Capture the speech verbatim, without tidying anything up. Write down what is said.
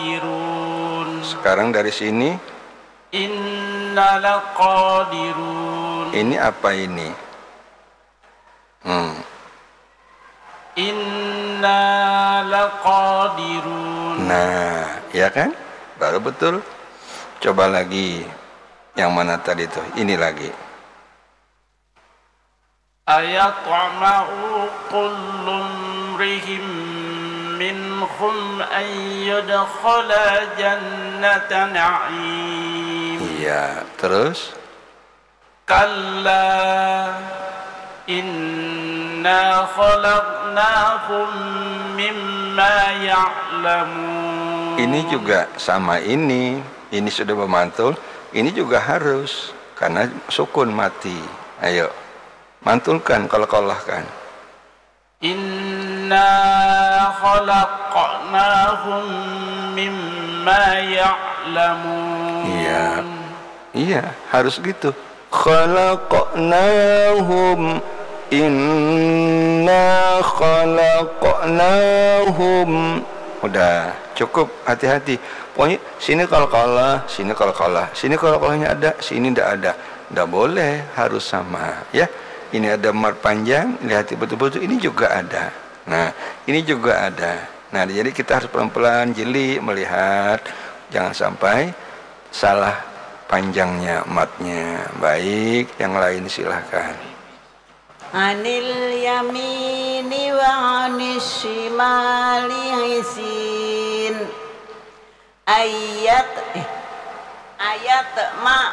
qadirun. Sekarang dari sini, Inna laqadirun. Ini apa ini? Hmm. Inna laqadirun. Nah, ya kan? Baru betul. Coba lagi yang mana tadi tuh? Ini lagi. Ayatma'u kullu mrihim minhum an yudkhala jannata na'im. Iya, terus? Kalla inna khalaqnahum mimma ya'lamun. Ini juga sama ini. Ini sudah memantul. Ini juga harus. Karena sukun mati. Ayo. Mantulkan, qalqalah kan. Inna khalaqnahum mimma ya'lamun. Iya. Iya, harus gitu. Khalaqnahum, inna khalaqnahum. Udah, cukup, hati-hati. Pokoknya sini qalqalah, sini qalqalah, sini qalqalahnya ada, sini ndak ada. Ndak boleh, harus sama, ya. Ini ada mad panjang, lihat betul-betul, ini juga ada. Nah, ini juga ada. Nah, jadi kita harus pelan-pelan jeli melihat, jangan sampai salah panjangnya madnya. Baik, yang lain silahkan. Anil yamini wa anis shimali izin. Ayat eh, ayat ma